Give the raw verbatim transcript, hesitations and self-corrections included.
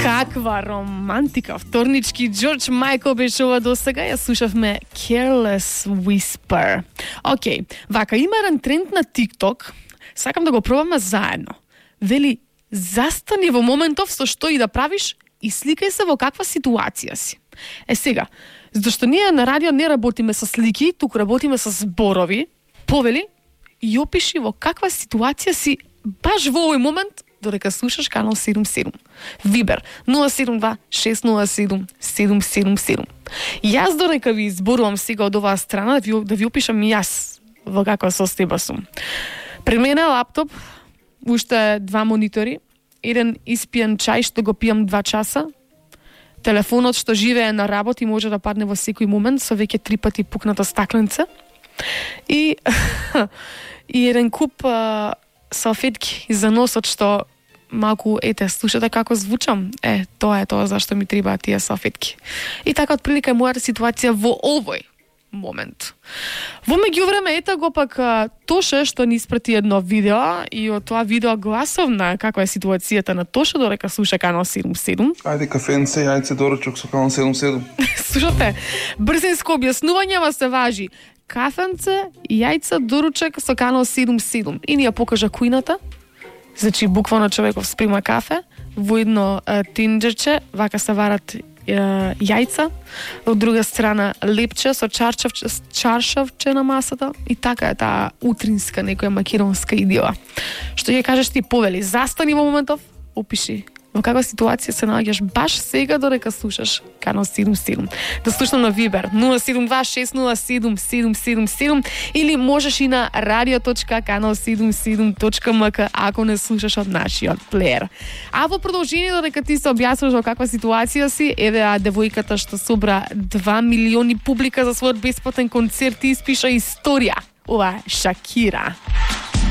Каква романтика, вторнички Джордж Майкл беше ова досега, ја слушавме Careless Whisper. Океј, вака има еден тренд на TikTok, сакам да го пробаме заедно. Вели, застани во моментов со што и да правиш и сликај се во каква ситуација си. Е сега, зашто ние на радио не работиме со слики, туку работиме со зборови, повели и опиши во каква ситуација си баш во овој момент додека слушаш канал седум седум. Вибер нула седум два шест нула седум седум седум седум. Јас додека ви изборувам сега од оваа страна да ви, да ви опишам јас во каква состојба сум. Пред мене е лаптоп, уште два монитори, еден испиен чај што го пијам два часа, телефонот што живее на работ и може да падне во секој момент со веќе три пати пукната стакленца и и еден куп а, салфетки за носот што малку, ете, слушате како звучам. Е, тоа е тоа зашто ми требаат тие салфетки. И така отприлика е мојата ситуација во овој момент. Во меѓувреме, ете го пак Тоше што ни испрати едно видео и од тоа видео гласовна каква е ситуацијата на Тоше додека слуша канал седум седум. Ајде кафенце, јајце, доручок со канал седум седум. Слушате, брзинско објаснување, ама се важи. Кафенце, јајца, доручек со канал седум седум. И ни ја покажа кујната. Значи, буквално човеков сприма кафе, во едно е, тинџерче, вака се варат е, јајца, од друга страна лепче со чаршавче, чаршавче на масата и така е таа утринска некоја македонска идила. Што ќе кажеш ти, повели, застани во моментов, опиши во каква ситуација се наоѓаш баш сега додека слушаш канал седум седум. Да слушам на Вибер нула седум два шест нула седум седум седум седум или можеш и на радио точка канал седум седум точка ем ка ако не слушаш од нашиот плеер. А во продолжение додека ти се објаснуваш во каква ситуација си, еве а девојката што собра два милиони публика за својот бесплатен концерт и испиша историја. Ова е Шакира.